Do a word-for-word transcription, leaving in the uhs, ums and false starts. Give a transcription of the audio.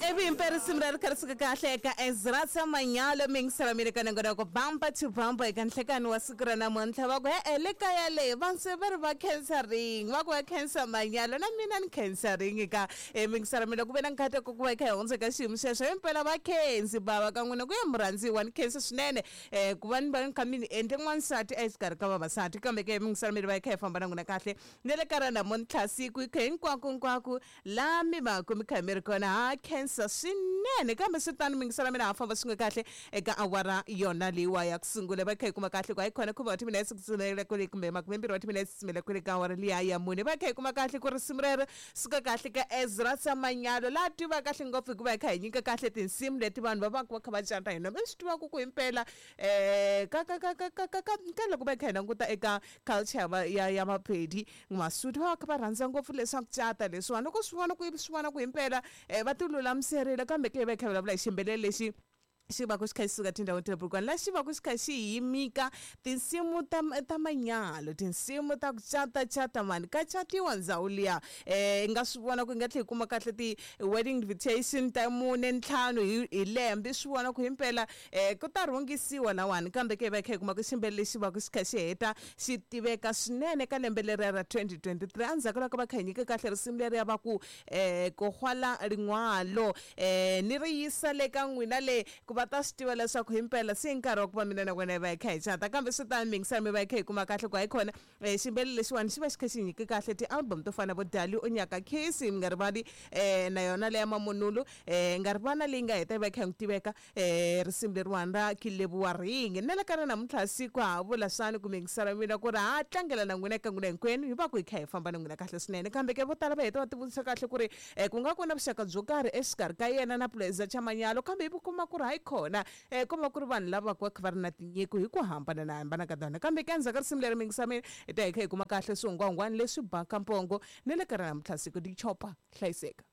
Risimu leri kha ri suka kahle eka Ezra Tsamanyalo mingisela mina ka nongonoko bumper to bumper eka nhlekani wa siku ra namuntlha. Va ku e-e le kaya le va se va ri va khensa ring, va ku va khensa manyalo, na mina ni khensa ring ka e mingisela mina ku ve na nkateko ku va hi kha hi hundza eka xiyimo xexo. Himpela va khensi bava ka n'wina ku ya murhandziwa, ni khensa swinene um ku va ni va ni kha mi ni endle n'wansati exikarhi ka vavasati. Kambe ke mingisela mina va hi kha hi famba na n'wina kahle ni le ka ra namuntlha siku hi kha hinkwako hinkwako laha mi va ku mi kha mi ri kona, ha khensa swinene. Kambe swi tano mingisela mina ha famba swin'we kahle eka awara yona leyiwa ya ku sungula, va kha hi kuma kahle ku hayi khona khume wa timinetse ku tsumela kwele kumbe makumembirhi wa timinetse tsumela kwele ka awara liya ya mune. Va kha hi kuma kahle ku risimu rero suka kahle ka Ezra Tsamanyalo laha tiva kahle ngopfu hikuva hi kha hi nyika kahle tinsimu leti vanhu va va va kha va cata hi noma. I swi tivaka ku himpela um ka ka ka ka ka ka ka ka loko va kha hi languta eka culture ya ya ya Mapedi Masuthu, va va kha va rhandza ngopfu leswaku cata leswiwani loko swi vona ku swi vona ku himpela um va ti lulamiserile. Kambe ke va kha vulavula hi xiyimbeleri lexi xi va ku xi kha xi suka tindhawini ta le Polokwane, laha xi va ku xi kha xi yimika tinsimu ta ta manyalo, tinsimu ta ku cata cata mani ka catiwa ndhawu liya. Um i nga swi vona ku hi nga tlhela hi kuma kahle ti-wedding invitation ta mune ntlhanu hi hi lembe, swi vona ku himpela um ku ta rhungisiwa lawani. Kambe ke hi va hi kha hi kuma ku xiyimbeleri lexi va ku xi kha xi heta xi tiveka swinene ka lembe leriya ra twenty twenty three, endzhaku loko va kha hi nyika kahle risimu leriya va ku um ku rhwala rin'walo um ni ri yisa le ka n'wina le ku va ta swi tiva leswaku himpela se i nkarhi wa ku va mina na wena hi va hi kha hi cata. Kambe swi tano mingisela mi va hi kha hi kuma kahle ku hayi khona um xiyimbeleri lexiwani xi va xi kha xi nyike kahle ti-album to fana na vo Dali o Nyaka Case, mi nga rivali um na yona leya Mamunulu, um nga rivali na leyi nga heta yi va yi kha yi n'wi tiveka um risimu leriwani ra Kilevuwa Ring. Na le ka ra namuntlha siku ha vula swani ku mingisela mina ku ri ha tlangela na n'wina eka n'wina hinkwenu hi va ku hi kha hi famba na n'wina kahle swinene. Kambe ke vo tala va heta va tivutisa kahle ku ri um ku nga ku na vuxaka byo karhi exikarhi ka yena na Puleza Chamanyalo, kambe hi kuma ku ri hayi khona um ko va ku ri vanhu lava va kha va ri na tinyiko hi ku hambana na hambana ka tona. Kambe ke endzhaku ka risimu leri mingisa mina hi ta hi kha hi kuma kahle swihungwahungwani leswi baka mpongo ni le ka ra namuntlha siku di chopa hlayiseka.